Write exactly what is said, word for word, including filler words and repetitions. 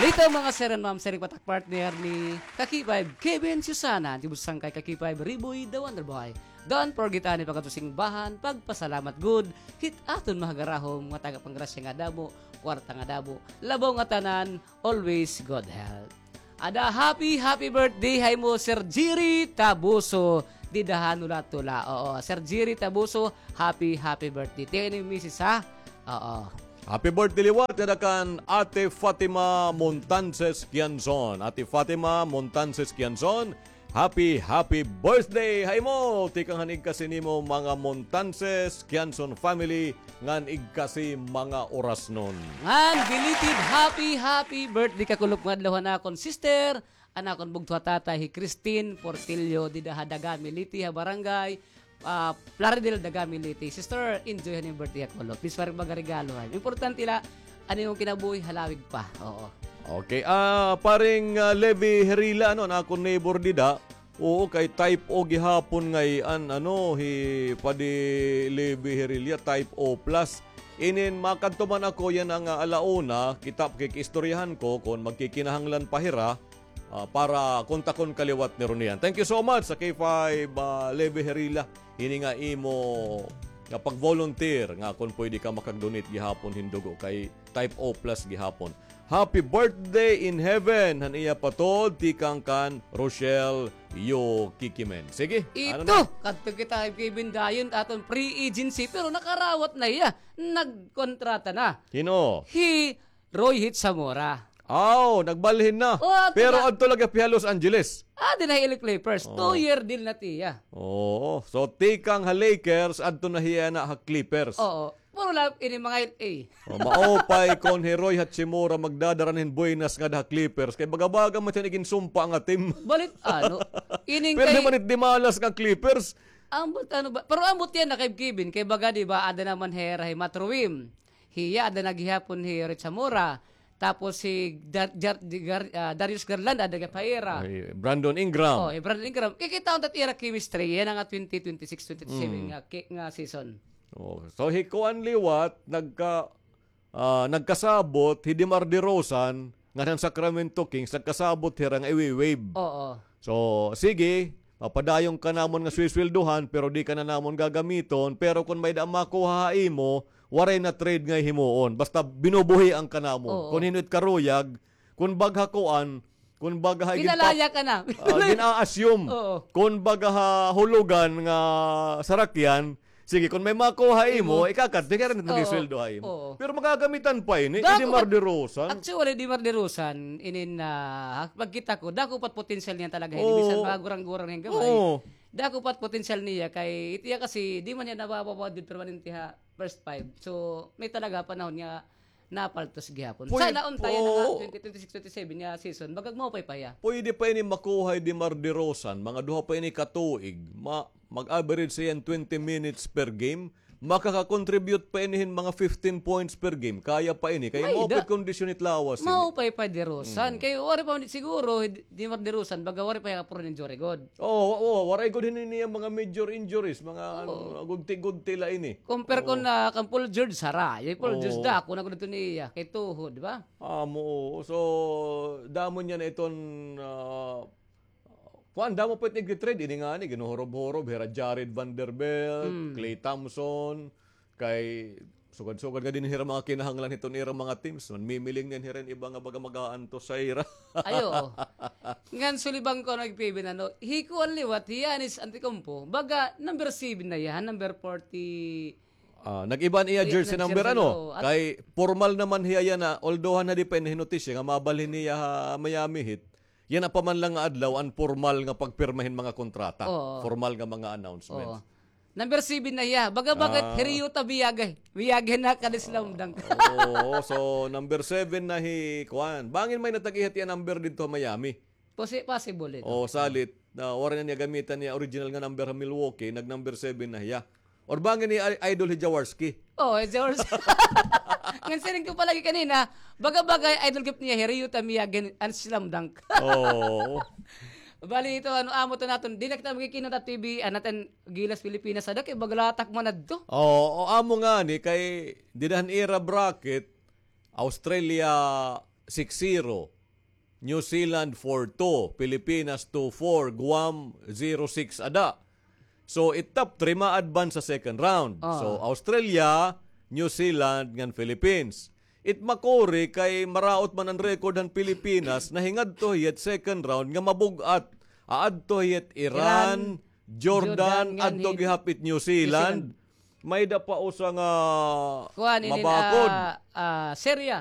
Dito, mga sir and ma'am, sir, patak partner ni Kaki Five, Kevin Susana, tibusang kay Kaki Five, Riboy, the Wonder Boy. Don't forget, ani, pagkatusing bahan, pagpasalamat good, hit aton mahagarahom, nga taga panggrasya nga damo, kwarta nga damo, labaw nga tanan, always good health. Ada, happy, happy birthday ha imo, Sir Jerry Tabuso. Dida ha Nula-Tula. Oo, Sir Jerry Tabuso, happy, happy birthday. Tingnan ni misis, ha? Oo. Happy birthday liwat ngada kan Ate Fatima Montances Quianzon. Ate Fatima Montances Quianzon, happy, happy birthday ha imo. Tikang han igkasi nimo, mga Montances Quianzon family, ngan igkasi mga orasnon. Ngan belated happy, happy birthday kakulop nga adlaw han akon sister, an akon bugto ha tatay, hi Christine Portillo, dida ha Dagami, Leyte, ha barangay, ah, Plaridel, Dagami, Leyte. Sister, enjoy han imo birthday kakulop. Please, waray baga regalo, ha. Importante la, an imo kinabuhi halawig pa. Oo. Okay, ah, paring, ah, Levi Herila, ano, an akon neighbor dida. Oo, kay type O gihapon ngay-an, ano, hi Padi Levi Herila, type O plus. Inin makadto man ako yana nga, ah, ala una, kita, kikiistoryahan ko kon magkikinahanglan pa hira, ah, para kontakon ka liwat ni Ronian. Thank you so much sa K five, ah, Levi Herila. Hini nga imo nga pag-volunteer nga kon pwede ka makag-donate gihapon hin dugo kay type O plus gihapon. Happy birthday in heaven han iya patod tikang kan Rochelle Yo Kikimen. Sige, ano Ito, na? Kadto kita kay Kevin dayon aton free agency, pero nakarawat na hiya. Nagkontrata na. Hin-o? Hi Roy Hit Zamora. Aw, nagbalhin na. Oh, adto Pero na. Adto lagi pa ha Los Angeles. Ah, dida ha L A Clippers. Oh. Two-year deal na tiya. Oo. So, tikang ha Lakers, adto na hiya na ha Clippers. Oo. Puro la ini mga L A. Oh, maupay kon hi Roy Hachimura magdadara hin buenas ngada ha Clippers. Kay baga-baga man tiyan iginsumpa nga team. Balit, ano, ining Pero kay naman it dimalas nga Clippers. Ambot, ano ba? Pero ambot yana kay Kevin. Kay baga, di ba, ada naman hira hi Matruim. Hiya, ada na gihapon hi Rich Zamora. Tapos si Dar-, Jar-, Gar-, ah, Darius Garland, ada gihap hira. Ay, Brandon Ingram. Oh, hi Brandon Ingram. Kikitaon ta it ira chemistry. Yana nga twenty twenty-six twenty-seven Mm. nga ki-, nga season. Oh, so, hi kuan liwat, nagka-, ah, nagkasabot, hi DeMar DeRozan, ngan han Sacramento Kings, nagkasabot hira nga iwi-waive. Oo. So, sige, papadayon ka namon nga swisweldohan, pero di ka na namon gagamiton, pero kon may-ada makuha ha imo, waray na trade nga himuon. Basta binubuhian ka namon. Oo. Kon hin-o it karuyag, kon baga ha kuan, kon baga ha Pinalaya ka na. Ah, gin-a-assume. Oo. Kon baga ha hulugan nga sarakyan, sige, kon may makuha imo, Imo. ikakat, di ka rin Oo. magisweldo ha imo. Oo. Pero magagamitan pa ini, Dako DeMar DeRozan. Actually, DeMar DeRozan, inin, ah, pagkita ko, dako pa it potensyal niya talaga. Hindi Oo. bisan mga gurang-gurang hin gamay. Oo. Dako pa it potensyal niya kay, itiya kasi, di man niya nabababa dito permanente ha first five. So, may talaga panahon nga napaltos gihapon. Pwede Sana untayan na nga po. twenty twenty-six twenty-seven nga season, bagag maupay pa hiya. Pwede pa ini makuha hi DeMar DeRozan, mga duha pa ini ka tuig, ma-, mag-average siya hin twenty minutes per game, makaka-contribute pa ini hin mga fifteen points per game, kaya pa ini, kay May maupay da- kondisyon it lawas ini. Maupay pa DeRozan, Mm. kay waray pa man siguro, DeMar DeRozan, baga waray pa hiya prone injury gud. Oo, oo, waray gud hini niya mga major injuries, mga Oo. ano, gudti-gudti la ini. Compare Oo. ko na kan Paul George, sara. Yung Paul George Oo. dako na gud ito niya, kay tuhod, di ba? Amo, oo. So, damo niya na iton, ah, kuan, damo pa it nagtitrade, ini nga ni, ginuhurob-hurob, hira Jared Vanderbilt, Mm. Klay Thompson, Kay sugad-sugad nga dinhi hira mga kinahanglan hiton ira mga teams, manmimiling niyan hira hin iba nga baga mag-aantos ha ira. Ay, oo. Ngan sulibang ko, ano, P B, ano, hi kuan liwat, hi Giannis Antetokounmpo, baga number seven na hiya, number forty. Ah, nag-iba an iya Iya, jersey number, jersey, ano? oo. At Kay formal naman hiya yana, although han nadi pa ini hinotisya nga mabalhin niya ha Miami Heat, yana pa man la nga adlaw an pormal nga pagpirma hin mga kontrata. Oo. Formal nga mga announcements. Oo. Number seven na hiya. Baga-baga, Ah. Ryota Miyagi. Miyagi na ka ni slam dunk. Oo, so number seven na hi kuan. Bangin may natag-ihat iya number didto ha Miami. Posi-, possible ito. Oo, salit. Na, waray na niya gamitan niya original nga number ha Milwaukee, nag-number seven na hiya. Or bangin ni i-, idol hi Jaworski? Oo, hi Jaworski. Ngan siring ko pa lagi kanina, baga-baga idol gihap niya hi Ryota Miyagi an slam dunk. Oo. Bali ito, ano, amo to naton, di na kita magkikinot at T V, ah, naton Gilas Pilipinas, ada kay bagalatak man adto. Oo, o, amo ngani, kay dida han ira bracket, Australia, six zero. New Zealand four two, Pilipinas two four, Guam zero six ada. So, it top three ma-advance sa second round. Ah. So, Australia, New Zealand, ngan Philippines. It makuri kay maraot man an record han Pilipinas, nahingadto hiya hit second round nga mabug-at. Aadto hiya hit Iran, Iran, Jordan, Jordan, ngan adto hit gihap it New Zealand. New Zealand. May-ada pa usa nga kuan, inin, mabakod. Ah, ah, Syria.